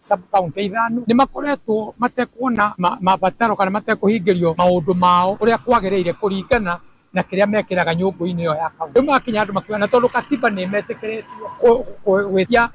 Sub county 5 nĩ makoretwo matekuona mabataro kana matekũhingĩrio maũndũ mao ũrĩa kwagĩrĩire kũringana na kĩrĩa mekĩraga nyũngũ-inĩ ĩyo ya kaunti. Rĩu makinya andũ makiuga na tondũ katiba nĩ metĩkĩrĩtio gwĩtia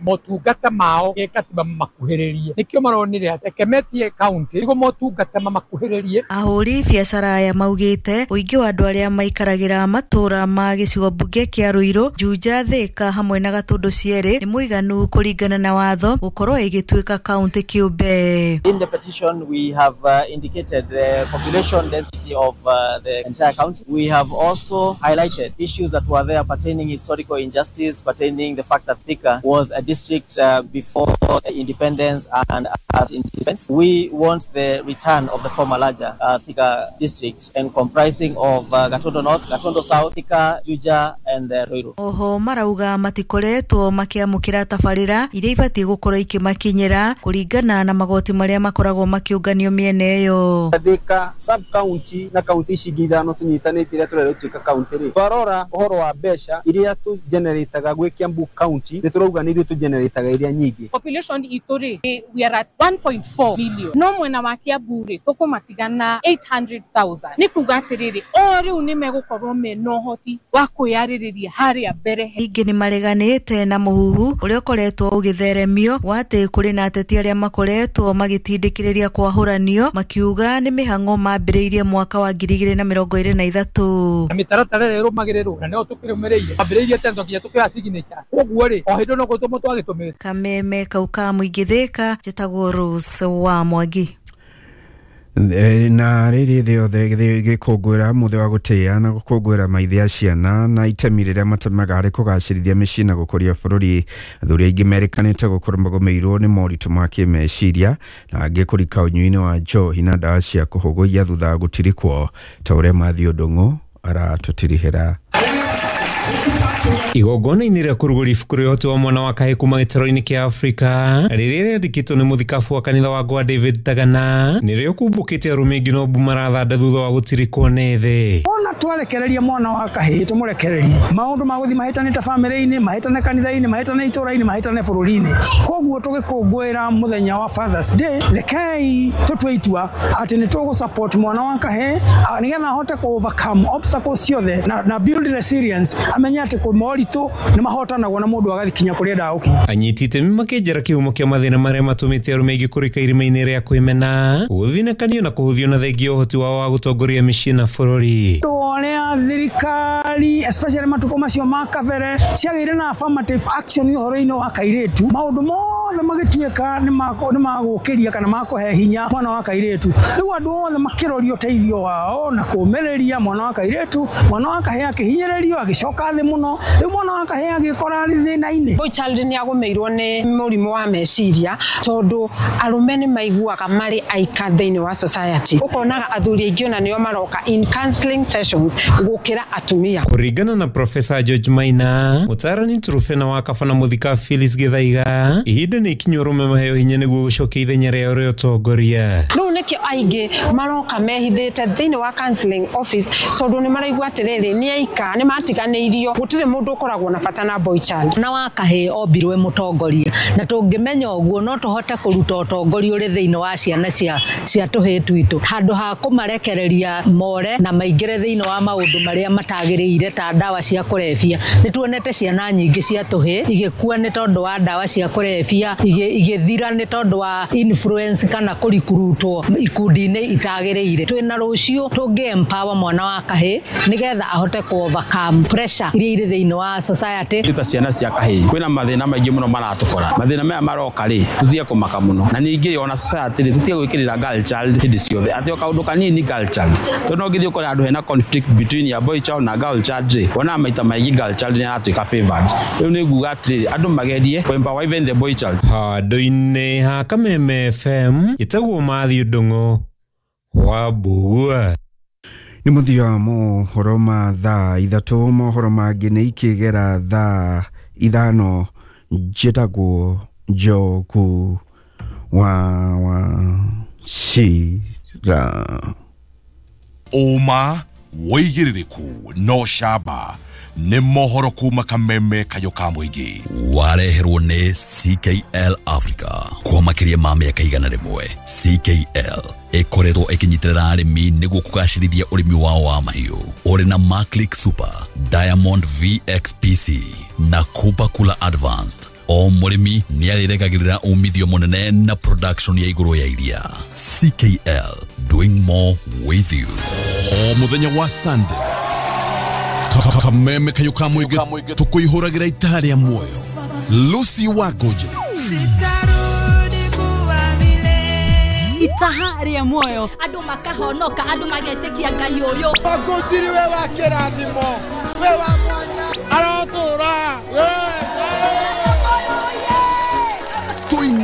motungata mao gĩkatiba makuhĩrĩrie, nĩkĩo maronire atĩ reke metie kaunti nĩguo motungata mamakuhĩrĩrie. Ahũri biacara aya maugĩte ũingĩ wa andũ arĩa maikaragĩra matũra ma gĩcigo mbunge kĩa Ruiru, Juja, Thika hamwe na Gatũndũ cierĩ nĩ mũiganu kũringana na watho gũkorwo ĩgĩtuĩka kaunti kĩũmbe. In the petition we have indicated the population density of the entire county. We have also highlighted issues that were there pertaining historical injustice, pertaining the fact that Thika was a district before independence and as independence. We want the return of the former larger Thika district and comprising of Gatondo North, Gatondo South, Thika, Juja and Ruiru. Oho marauga matikoretwo makiamukira tabarira iria ibatiĩ gũkorwo ikimakinyĩra kũringana na magoti marĩa makoragwo makĩũnganio mĩena ĩyo. Thika sub county na county ici ingĩ 5 tũnyitanĩte iria tũrerwo ituĩka county rĩ, twarora ũhoro wa mbeca iria tũgenerataga gwĩ Kiambu county nĩ tũrauga nĩ ithuĩ tũgenerataga iria nyingĩ. Population itũ rĩ, we are at 1.4 million, no mwena wa Kiambu rĩ tũkũmatigana 800,000. Nĩ kuga atĩrĩrĩ, o rĩu nĩ megũkorwo mena ũhoti wa kwĩyarĩrĩria harĩa mbere. Ningĩ nĩ mareganĩte na mũhuhu ũrĩa ũkoretwo ũgĩtheremio wa atĩ kũrĩ na ateti arĩa makoretwo magĩtindĩkĩrĩria kwahũranio makiuga nĩ mĩhang'o mambĩrĩirie mwaka wa 2023. Na mĩtaratara ĩrĩa ĩrũmagĩrĩrwo na nĩyo tũkĩrũmĩrĩire ambĩrĩirie tene tondũ nginya tũkĩoya signature, koguo rĩ o hĩndĩ no gũtũmwo twagĩtũmĩte. Kameme kau ka mũingĩ Thika, njĩtagwo Rose wa Mwangi. Na rĩrĩ thĩ yothe gĩkũngũĩra mũthĩ wa gũtĩa na gũkũngũĩra maithe a ciana na itemi rĩrĩa matemaga harĩ kũgacĩrithia mĩciĩ na gũkũria bũrũri. Athuri aingĩ merĩkanĩte gũkorwo magũmĩirwo nĩ moritũ ma kĩmeciria na angĩ kũrika ũnyui-inĩ wa njohi na ndawa cia kũhũgũia thutha wa gũtirikwo, ta ũrĩa Matthew Ndung'u aratũtirihĩra. Igongona-inĩ rĩa kũrugũria ibuku rĩa ũhoti wa mwana wa kahĩĩ kuma gĩtarũ-inĩ kĩa Afrika rĩrĩa rĩandĩkĩtwo nĩ mũthikabu wa kanitha wa Gwa David Tagana nĩrĩo kumbũkĩte arũme aingĩ no mbu marathanda thutha wa gũtirikwo nĩ thĩ. Ona twarekereria mwana wa kahĩĩ tũmũrekererie maũndũ ma gũthiĩ mahĩtanĩte bamĩrĩ-inĩ, mahĩtane kanitha-inĩ, mahĩtane itũũra-inĩ, mahĩtane bũrũri-inĩ. Koguo tũgĩkũngũĩra mũthenya wa Father's Day, rekei tũtue itua atĩ nĩ tũgũ support mwana wa kahĩĩ nĩgetha ahote kũ overcome obstacles ciothe na build resilience, amenye atĩ moritũ nĩ mahotanagwo na mũndũ agathikinya kũrĩa endaga gũkinya. Anyiti itemi makĩnjĩra kĩhumo kĩa mathĩna marĩa matũmĩte arũme aingĩ kũrika irima-inĩ rĩa kwĩmena, gũthinĩkanio na kũhũthio na thengia ũhoti wao wa gũtongoria mĩciĩ na bũrũri. Ũrĩa thirikari especially matukũ macio ma kabere ciagĩire na affirmative action ũhoro-inĩ wa kairĩtu, maũndũ mothe magĩtuĩka nĩ magũkĩria kana makũhe hinya mwana wa kairĩtu. Rĩu andũ othe makĩroria ũteithio wao na kũũmĩrĩria mwana wa kairĩtu, mwana wa kahĩĩ akĩhinyĩrĩrio agĩcoka thĩ mũno, rĩu mwana wa kahĩĩ agĩkora arĩ thĩna-inĩ. Boy child nĩ agũmĩirwo nĩ mũrimũ wa meciria tondũ arũme nĩ maiguaga marĩ aika thĩinĩ wa society. Ũkonaga athuri aingĩ ona nĩo maroka in counseling sessions gũkĩra atumia. Kũringana na Professor George Maina, mũtaarani Trufena wa Kaba na mũthika Phyllis Gĩthaiga, ihinda nĩ ikinyu arũme maheo hinya nĩguo gũcokia ithenya rĩao rĩa ũtongoria. Rĩu nĩkĩo aingĩ maroka mehithĩte thĩinĩ wa counseling office tondũ nĩ maraigua atĩrĩrĩ nĩ aika, nĩ matiganĩirio, gũtirĩ mũndũ ũkoragwo na bata na boy child. Na wa kahĩĩ ombirwo mũtongoria, na tũngĩmenya ũguo no tũhote kũruta ũtongoria ũrĩ thĩinĩ wa ciana cia tũhĩĩ twitũ, handũ ha kũmarekereria more na maingĩre thĩinĩ wa maũndũ marĩa matagĩrĩire ta ndawa cia kũrebia. Nĩ tuonete ciana nyingĩ cia tũhĩĩ igĩkua nĩ tondũ wa ndawa cia kũrebia, igĩthira nĩ tondũ wa influence kana kũrikurutwo ikundi-inĩ itagĩrĩire. Twĩna rũciũ tũngĩ empower mwana wa kahĩĩ nĩgetha ahote kũ overcome pressure iria irĩ thĩinĩ wa society. Ta ciana cia kahĩĩ kwĩna mathĩna maingĩ mũno maratũkora, mathĩna maya maroka rĩ tũtige kũmaka mũno, na ningĩ ona society rĩ tũtige gwĩkĩrĩra girl child hĩndĩ ciothe atĩ o kaũndũ kanini girl child, tondũ no ũngĩthiĩ ũkore handũ hena conflict between ya boy child na girl child rĩ, wonaga maita maingĩ girl child nĩ aratuĩka favored. Rĩu nĩ nguga atĩrĩrĩ andũ magerie kũ empower even the boy child. Handũ-inĩ ha Kameme FM ĩtagwo Matthew Ndung'u wa Mbugua. Nĩ mũthia wa mohoro ma thaa 3, mohoro mangĩ nĩ ikĩgera thaa 5. Njĩtagwo Njogu wa Wachira. Ũma wĩigĩrĩrĩku no camba nĩ mohoro kuma Kameme kayo ka mũingĩ. Wareherwo nĩ CKL Africa. Makĩria ma mĩaka 100 CKL ĩkoretwo ĩkĩnyitĩrĩra arĩmi nĩguo kũgacĩrithia ũrĩmi wao wa mahiũ ũrĩ na Maclick Super, Diamond VXPC na Kupa Kula Advanced. O mũrĩmi nĩ arĩregagĩrĩra umithio mũnene na production ya igũrũ ya iria. CKL, doing more with you. O muthenya wa Sunday, kameme kayo ka mũingĩ tũkũihũragĩra itaha rĩa muoyo. Lucy Wangũnjĩrĩ. Itaha rĩa muoyo, andũ makahonoka, andũ magetĩkia Ngai ũyũ. Wangũnjiri, we wa kĩrathimo, we wa mwanya, arotũra we.